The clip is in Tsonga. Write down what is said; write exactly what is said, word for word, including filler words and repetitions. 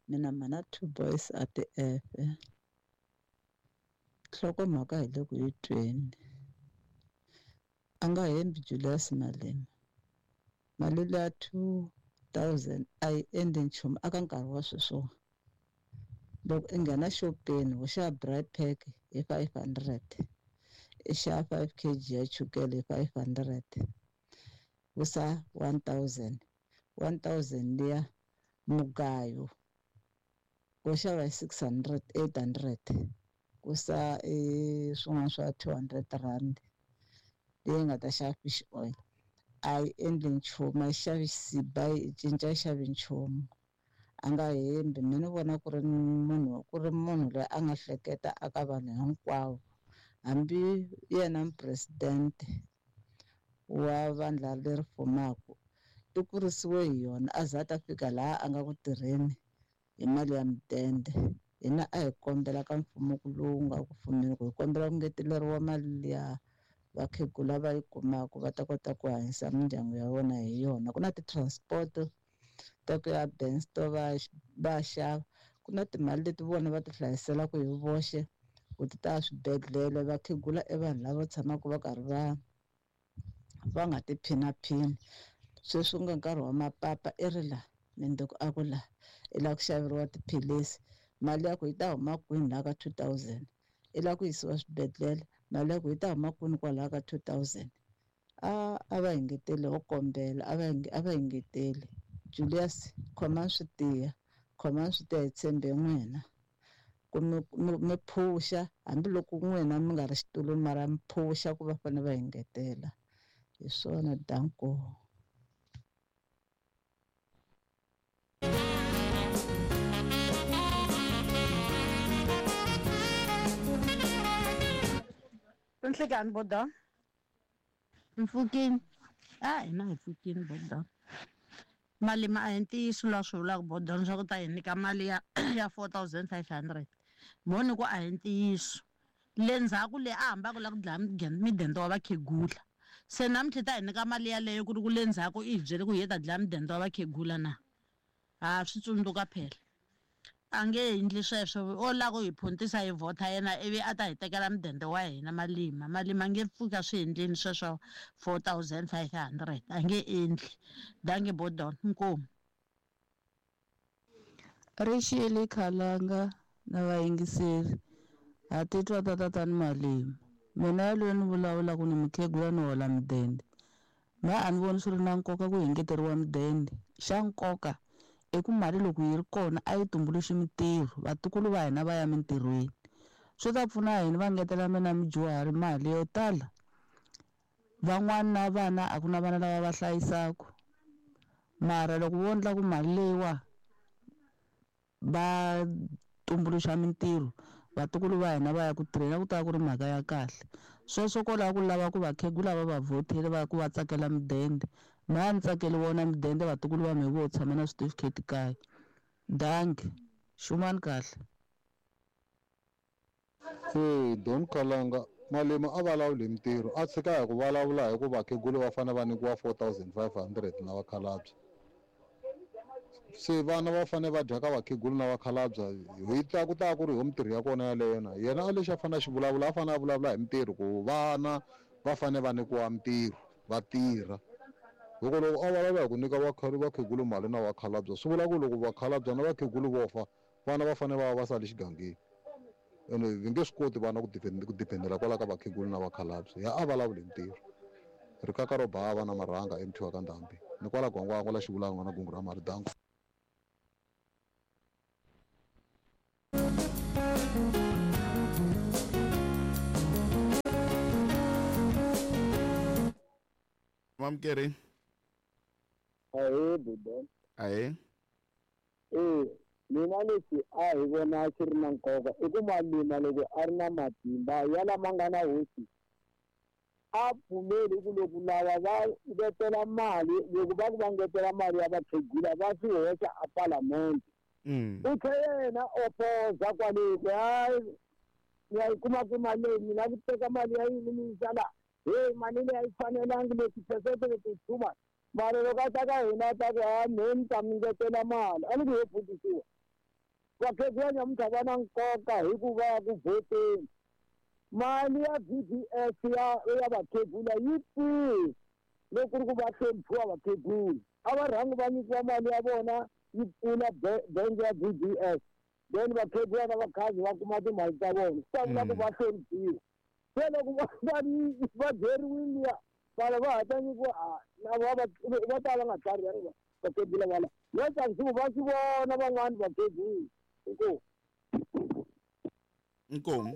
Mina mana two boys a ti efe. Nhlokomhaka hi le ku yi tweni. A nga hembi Julius Malema. Mali liya two thousand a yi endli nchumu aka nkarhi wa sweswiwa. Loko i nghena xopeni wo xava braai pack hi five hundred. I xava five kg ya chukele hi five hundred. Vusa one thousand. one thousand liya mugayo wo xava hi six hundred, eight hundred. Kusa i swin'wana swa two hundred rand leyi nga ta xava fish oil. A yi endli nchumu, a yi xavi xisibi, yi cinca yi xavi nchumu. A nga hembi, mina ni vona ku ri munhu ku ri munhu loyi a nga hleketa aka vanhu hinkwavo. Hambi yena president wa vandla leri fumaka i kurisiwe hi yona a za a ta fika laha a nga ku tirheni hi mali ya mudende. Hina a hi kombela ka mfumo lowu nga ku fumeni ku hi kombela ku ngeteleriwa mali liya vakhegula va yi kumaka va ta kota ku hanyisa mindyangu ya vona hi yona. Ku na ti-transport ta ku ya Bensto va va xava, ku na timali leti vona va ti hlayiselaka hi voxe ku ti ta swibedhlele. Vakhegula i vanhu lava tshamaka va karhi va va nga ti phinaphini. Sweswi ku nga nkarhi wa mapapa i ri la mindzuku a ku la i lava ku xaveriwa tiphilisi, mali ya ku yi ta huma kwini laha ka two thousand. I lava ku yisiwa swibedhlele, mali ya ku yi ta huma kwini kwalaho ka two thousand. A a va engeteli ho kombela, a va a va engeteli. Julius, khomani swi tiya, khomani swi tiya hi tshembe n'wina ku mi mi phuxa hambiloko n'wina mi nga ri xitulwini mara mi phuxa ku va fanele va engetela. Hi swona, danko. Nhlikani boda. Mpfukini. A hina hi pfukini boda. Malema a hi ntiyiso laha swi vulaka boda leswaku ta hi nyika mali ya ya four thousand five hundred. Moni ku a hi ntiyiso. Le ndzhaku le a hambaka la ku dlaya midende wa vakhegula. Se namuntlha ta hi nyika mali yaleyo ku ri ku le ndzhaku i hi byele ku hi ta dlaya midende wa vakhegula na. Ha swi tsundzuka phela. A nge endli sweswo, o lava ku hi phuntisa hi vhota yena ivi a ta hi tekela mudende wa hina Malema. Malema a nge pfuki a swi endleni sweswo four thousand five hundred, a nge endli. Dankie Bodon, inkomu. Rixile Khalanga na vayingiseri ha titwa ta tatani Malema. Mina loyi ni vulavulaka ni mukhegula ni hola mudende. Ma a ni voni swi ri na nkoka ku engeteriwa mudende. Xa nkoka i ku mali loko yi ri kona a yi tumbuluxi mintirho, vatukulu va hina va ya mintirhweni. Swi ta pfuna yini va ngetela mina mudyuhari mali yo tala? Van'wana na vana a ku na vana lava va hlayisaka. Mara loko vo endla ku mali leyiwa va tumbuluxa mintirho, vatukulu va hina va ya ku tirheni, ku ta ku ri mhaka ya kahle. Sweswo ko lava ku lava ku vakhegula va va vhoteli va ku va tsakela mudende. Mina a ni tsakeli wona mudende, vatukulu va mehe vo tshama na switifiketi kaya. Dankie, xumani kahle. Se Don Kalanga Malema a vulavuli hi mintirho, a tshika hi ku vulavula hi ku vakhegula va fanele va nyikiwa four thousand five hundred na vakhalabye. Se vana va fanele va dya ka vakhegula na vakhalabye, hi ta ku ta ku ri ho mintirho ya kona yaleyo na. Yena a lexi a fanele a xi vulavula, a fanele a vulavula hi mintirho ku vana va fanele va nyikiwa mintirho va tirha. Loko loko a vulavula hi ku nyika vakhegula mali na vakhalabye, swi vula ku loko vakhalabye na vakhegula vo fa, vana va fanele va va va sale xigangeni. Ene va nge swi koti vana ku ku dependela kwala ka vakhegula na vakhalabye. Ya a vulavuli hi mintirho. Rikaka ro bava na marhanga emuthiwa ka ndhambi. Ni kwala Gwangwangwa la xivulanga na gungu ra mali danko. Mamkeri. Ahee Bodon. Ahee. Eh, mina lexi a hi vona xi ri na nkoka i ku Malema loko a ri na matimba ya lama nga na hosi a pfumeli ku loko lava va ngetela mali, loko va ku va ngetela mali ya vakhegula va swi hoxa a palamende. U tlhe yena opoza kwale ku hayi ya yi kuma ku mali leyi mina ku teka mali ya yini mi yisa laha, heyi mali leyi a yi fanelangi leti phesente leti too much. Mara loko a ta ka hina a ta ku ha mehe ni ta mi ngetela mali, a ni ku ho pfutisiwa. Vakhegula nyamuntlha va na nkoka hikuva ya ku vhoteni. Mali ya V D S ya ya vakhegula yi kwihi loko ku ri ku va hloniphiwa vakhegula? A va rhangi va nyikiwa mali ya vona yi pfula bangi ya V D S, then vakhegula na vakhazi va kuma timali ta vona, swi ta vula ku va hloniphiwa. Se loko va va byeriwile liya vana va ha ta nyikiwa lava va ta va nga tlharihangi vakhegula vala va tsakisiwa va swi vona van'wani vakhegula. Inkomu. Inkomu.